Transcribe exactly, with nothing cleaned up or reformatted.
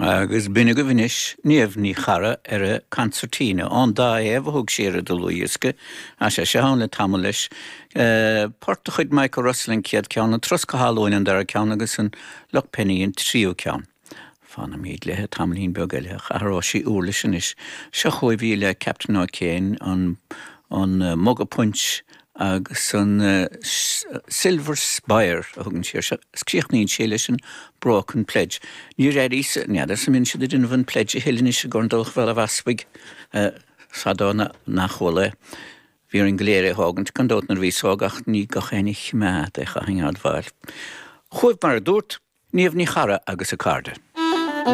Agus b'in agaibh anois Niamh Ní Charra ar a concertina. An dá thaobh a thug sí ar a dlúthdhiosca. Tá sé seo ann le tamall leis. Port de chuid Michael Russell an chéad ceann, an Troscadh Halloween an dara ceann agus an Luck Penny an tríú ceann. Fanfaimid léi tamaillín beag eile ach athróidh sí uirlis anois. Seo chugaibh í le Captain O'Kane an an Muga Punch agus an Silver Spire a thugann sí air seo. Críochnaíonn sé leis an Broken Pledge. Níor airíos n'fheadar an mbíonn siad ag déanamh an pledge a thuilleadh anois i gCorn Dubhach Bhéal an Easpaig fadó nach bhfuil é. Bhí orainn go léir é a thógaint gan dabht nuair a bhíos óg ach ní gach éinne a choimeád é chaithfinn a admháil. Chugaibh mar a dúrt, Niamh Ní Charra agus a cairde.